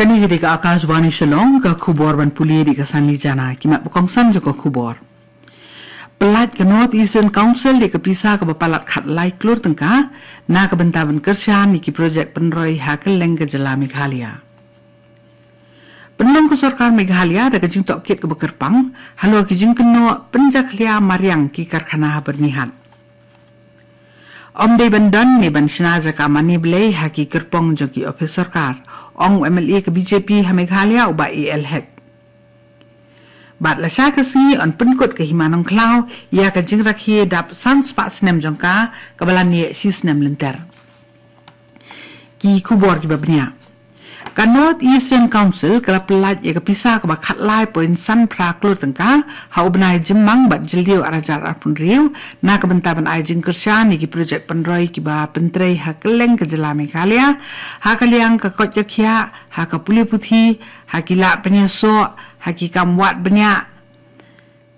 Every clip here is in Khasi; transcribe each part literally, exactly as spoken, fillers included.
Kane ka dei ka Akashvani Shillong, ka khubor ban pule da ka Sanli Jana, ki mat ba kongsan jong ka khubor. Pyllait ka North Eastern Council da ka pisa kaba palat khatlai klur tyngka, na ka bynta ban kyrshan ïa ki projek pynroi ha kylleng ka jylla Meghalaya. Pynlong ka sorkar Meghalaya da ka jingtohkit kaba kyrpang, halor ki jingkynnoh pynjakhlia mariang ki karkhana ha Byrnihat. Ym dei ban don ne ban shna jaka mane blei ha ki kyrpong jong ki ophis sorkar, ong u M L A ka B J P ha Meghalaya u Bah A L Hek. Bad lashai ka sngi yn pynkut ka Hima Nongkhlaw ïa ka jingrakhe dap san spah snem jong ka, kaba la neh shi snem lynter. Ki khubor kiba bniah. Ka North Eastern Council ka la pyllait ïa ka pisa kaba khatlai point san phra klur tyngka ha u bnai Jymmang bad Jylliew ar hajar arphew hynriew, na ka bynta ban ai jingkyrshan ïa ki projek pynroi kiba pyntrei ha kylleng ka jylla Meghalaya, ha ka liang ka koit ka khiah, ha ka pule puthi, ha ki lad pynïasoh, ha ki kam wad bniah,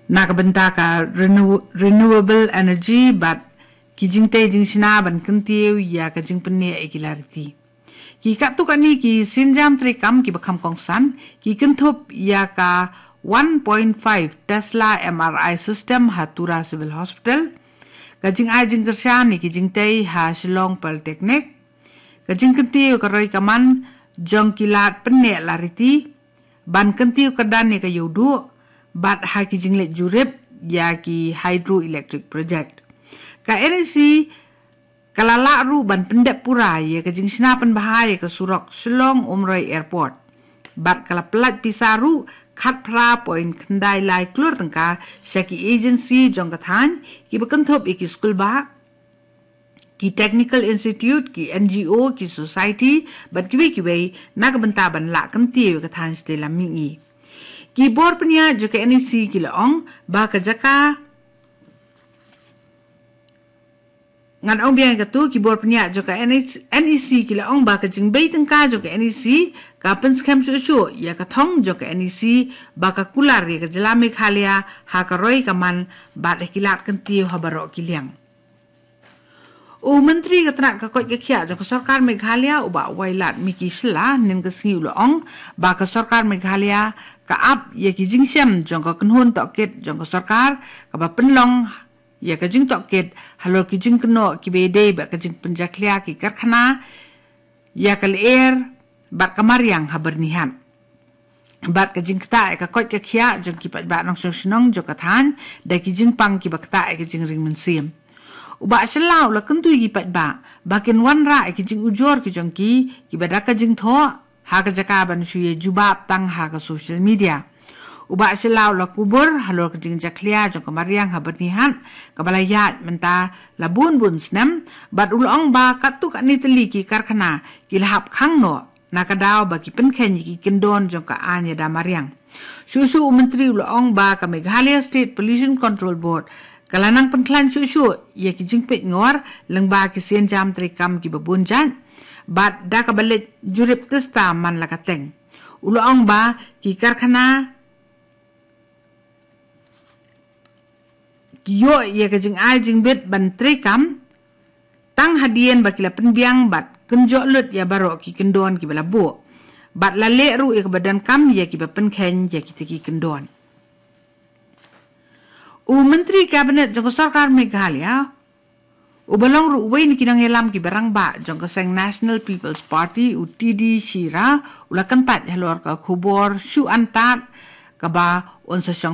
na ka bynta ka renew-, renewable energy bad ki jingtei jingshna ban kyntiew ïa ka jingpynneh ïa ki lariti. Ki katto katne ki sienjam treikam kiba kham kongsan, ki kynthup ïa ka one point five Tesla M R I system ha Tura Civil Hospital, ka jingai jingkyrshan ïa ki jingtei ha Shillong Polytechnic, ka jingkyntiew ka roi ka man jong ki lad pyneh lariti, ban kyntiew kyrdan ïa ka ïewduh, bad ha ki jingleit jurip ïa ki hydroelectric project. Ka N E C ka la lah ruh ban pyndep pura ïa ka jingshna pynbha ïa ka surok Shillong Umroi Airport. Bad ka la pyllait pisa ruh khatphra point khyndai lai klur tyngka sha ki agency jong ka thaiñ, kiba kynthup ïa ki skulbah, ki technical institute, ki N G O, ki society, bad kiwei kiwei, na ka bynta ban lah kyntiew ïa ka thaiñ shatei lam mihngi. Ki bor pynïaid jong ka N E C ki la ong ba ka jaka, ngan ong biang ïa kato, ki bor pynïaid jong ka N E C, N E C ki la ong ba ka jingbei tyngka jong ka N E C ka pynskhem shuh shuh ïa ka thong jong ka N E C ba ka kular ïa ka jylla Meghalaya ha ka roi ka man bad ha ki lad kyntiew ha baroh ki liang. U Myntri ka tnat ka koit ka khiah jong ka sorkar Meghalaya u Bah Wailadmiki Shylla, hynnin ka sngi u la ong ba ka sorkar Meghalaya ka ap ïa ki jingshem jong ka kynhun tohkit jong ka sorkar, kaba pynlong ïa ka jingtohkit halor ki jingkynnoh kiba ïadei bad ka jingpynjakhlia ki karkhana ïa ka lyer bad ka mariang ha Byrnihat, bad ka jingktah ïa ka koit ka khiah jong ki paidbah nongshong shnong jong ka thaiñ da ki jingpang kiba ktah ïa ka jingring mynsiem. U Bah Shylla u la kyntu ïa ki paidbah ba kin wanrah ïa ki jingujor ki jong ki, kiba da ka jingthoh ha ka jaka ban shu ïa jubab tang ha ka social media. U Bah Shylla u la kubur halor ka jingjakhlia jong ka mariang ha Byrnihat, kaba la ïaid mynta la bun bun snem, bad u la ong ba katto katne tylli ki karkhana ki la hap khang noh, na ka daw ba ki pynkheiñ ïa ki kyndon jong ka aiñ ïada mariang. Shuh shuh u Myntri u la ong ba ka Meghalaya State Pollution Control Board ka la nang pynkhlaiñ shuh shuh ïa ki jingpeit ngor lyngba ki sienjam treikam kiba bun jait, bad da kaba leit jurip tista man la ka teng. U la ong ba ki karkhana ki ïoh ïa ka jingai jingbit ban treikam tang hadien ba ki la pynbiang bad kynjoh lut ïa baroh ki kyndon kiba la buh, bad la leh ruh ïa kaba donkam ïa kiba pynkheiñ ïa kita ki kyndon. U Myntri Kabinet jong ka sorkar Meghalaya, uba long ruh uwei na ki nongïalam kiba rangbah jong ka seng National People's Party, u T D Shira, u la kyntait halor ka khubor shu antad kaba un sa shong